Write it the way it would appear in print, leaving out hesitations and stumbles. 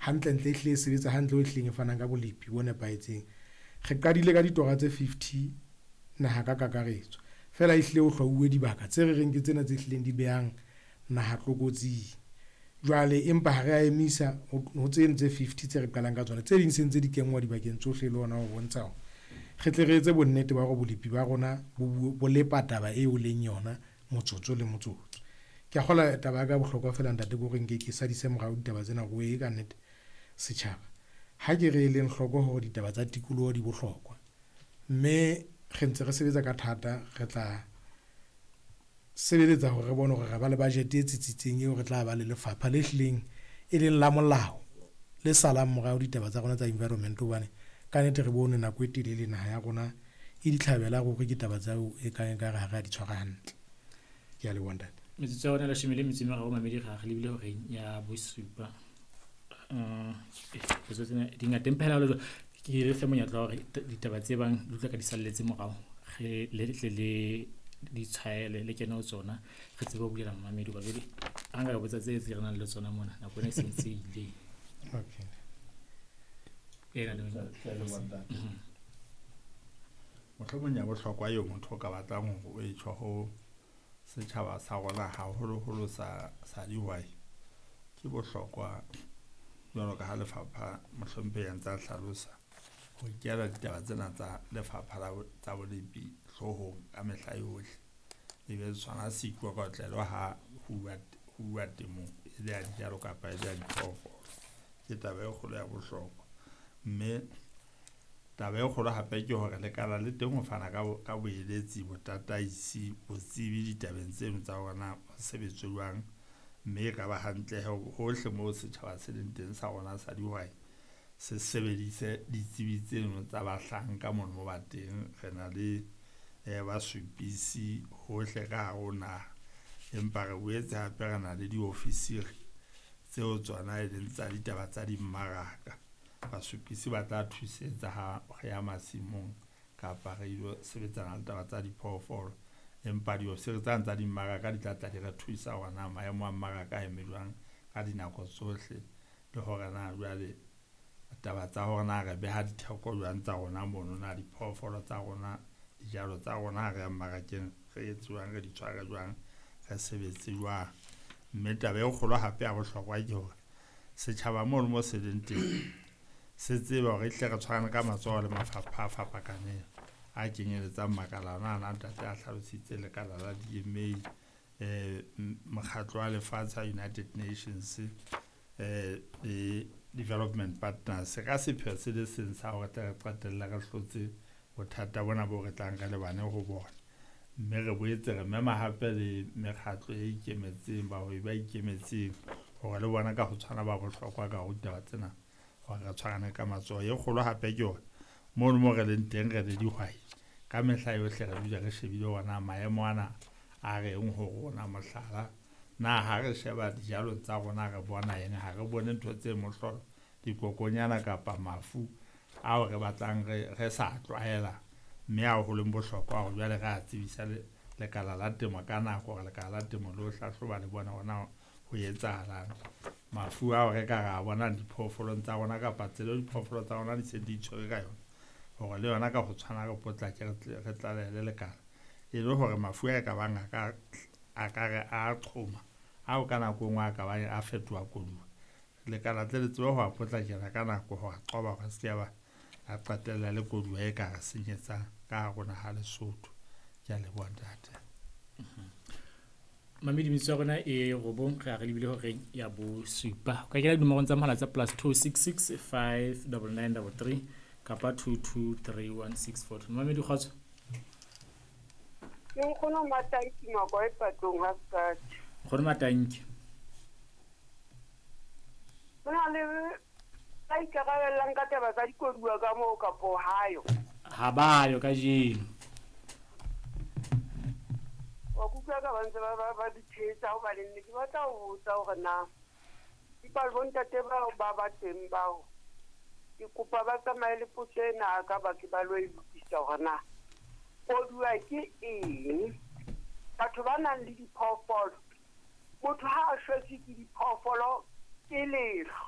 Hantlentle e hlile e sebetsa hantle ho e hlileng e fanang ka bolepi bo nepahetseng. Re qadile ka ditora tse 50 naha ka kakaretso. Feela ehlile ho hlwauwe dibaka tse re reng ke tsena tse hlileng di behang naha tlokotsing. Jwale empa ha re a emisa ho tseno tse 50 tse re qalang ka tsona. Tse ding se ntse di kenngwa dibakeng tsohle le hona ho bontsha hore re tle re etse bonnete ba hore bolepi ba rona bo lepa taba eo leng yona motsotso le motsotso. Ke a kgolwa taba ya ka bohlokwa feela ntate ke hore nke ke sadise morao ditaba tsena hore e ka nnete setjhaba. Ha ke re eleng hloko hore ditaba tsa tikoloho di bohlokwa, mme re ntse re sebetsa ka thata, re tla sebeletsa hore re bone hore re ba le budget e tsitsitseng eo re tla ba le lefapha le hlileng e leng la molao le salang morao ditaba tsa rona tsa environment hobane ka nnete re bone nako e telele naha ya rona e ditlhabela ruri ke taba tseo e kang ekare ha re a di tshwara hantle. Ke a leboha ntate. Metsotso ya rona 13 mamedi re lebile horeng ya bosupa. Potso tsena di ngata empa hela jwalo ke re fe monyetla wa hore ditaba tse bang di utlwa ka di salletse morao re le tle le di tshwaele le kene ho tsona re tsebe ho bulela mamedi hoba jwale ha nka botsa tse tse re nang le tsona mona nako ena e se ntse ile. Okay. Mohlomong ya bohlokwa eo motho o ka batlang hore o e tjho ho setjhaba sa rona haholoholo sa dihwai ke bohlokwa jwalo ka ha lefapha mohlomphehi a ntse a hlalosa ho nkela ditaba tsena tsa lefapha la tsa bolepi hloohong ka mehla yohle. E be sona seikokotlelo ha ho uwa temong e le ya dijalo kapa e le ya diphoofolo. Ke taba e kgolo ya bohlokwa. Mme taba e kgolo hape ke hore lekala le teng ho fana ka boeletsi, botataisi, botsebi ditabeng tseno tsa hore na ho sebetswe jwang. Mme e ka ba hantle hohle moo setjhaba se leng teng sa rona sa dihwai se sebedise ditsebi tseno tsa bahlanka mono mo ba teng. Re na le basupisi hohle ka hare ho naha, empa re boetse hape re na le diofisiri tseo tsona e leng tsa ditaba tsa dimmaraka. Basupisi ba tla thusetsa ha re ya masimong kapa re ilo sebetsana le taba tsa diphoofolo, empa diofisiri tsane tsa dimmaraka di tla tla di re thusa hore na maemo a mmaraka a eme jwang ka dinako tsohle, le hore na jwale taba tsa hore na re beha ditheko jwang tsa rona mono, na diphoofolo tsa rona, dijalo tsa rona ha re ya mmarakeng re etse jwang, re di tshware jwang, re sebetse jwang. Mme taba e kgolo hape ya bohlokwa ke hore setjhaba mono mo se leng teng se tsebe hore ehlile re tshwarane ka matsoho le mafapha a fapakaneng a kenyeletsang makala ana a ntate a hlalositse, lekala la DMA, mokgatlo wa lefatshe wa United Nations, le development partners ka sepheo se le seng sa hore tle re qetelle re hlotse bothata bona bo re tlang re lebane ho bona. Mme re boetse re mema hape le mekgatlo e ikemetseng, bahwebi ba ikemetseng hore le bona ka ho tshwana ba bohlokwa ka ho ditaba tsena hore re tshwarane ka matsoho. E kgolo hape ke hore mono mo re leng teng re le dihwai ka mehla yohle re dula re shebile hore na maemo ana a reng ho rona. Mohlala, na ha re sheba dijalo tsa rona re bona eng, ha re bone ntho tse mohlolo, dikokonyana kapa mafu ao re batlang re sa tlwaela, mme ao ho leng bohlokwa hore jwale re a tsebisa lekala la temo ka nako hore lekala la temo le ho hlahloba le bone hore na ho etsahalang. Mafu ao re ka ra bonang diphoofolong tsa rona kapa tsela eo diphoofolo tsa rona di seng di itshwere ka yona, hore le yona ka ho tshwana re potlake re tlalehele lekala, e le hore mafu a e ka bang a ka re a qhoma ao ka nako e nngwe a ka bang a fetoha koduwa, lekala tle le tsebe ho a potlakela ka nako ho a qoba hore se ke ba a qetella le koduwa e ka re senyetsang ka hare ho naha Lesotho. Ke a leboha ntate. Mamedi metso ya rona e 9 re a re lebile horeng ya bosupa. O ka kena dinomorong tsa mohala tsa +266 59933 kapa 2231642. Mamedi kgotso. Ke nkgono Matanki Makwa e patlong ha Sekati. Nkgono Matanki. Ho na le ba ikarabellang ka taba tsa dikoduwa ka moo kapo hayo? Ha bayo kajeno. Wa kutlwa ka ba ntse ba di thetsa hobane ne ke batla ho botsa hore na empa bontate bao ba ba teng bao ke kopa ba tsamaye le potso ena ka ba ke ba lo e lokisa hore na koduwa ke eng. Batho ba nang le diphoofolo, motho ha a shwetswe ke diphoofolo ke lehlwa.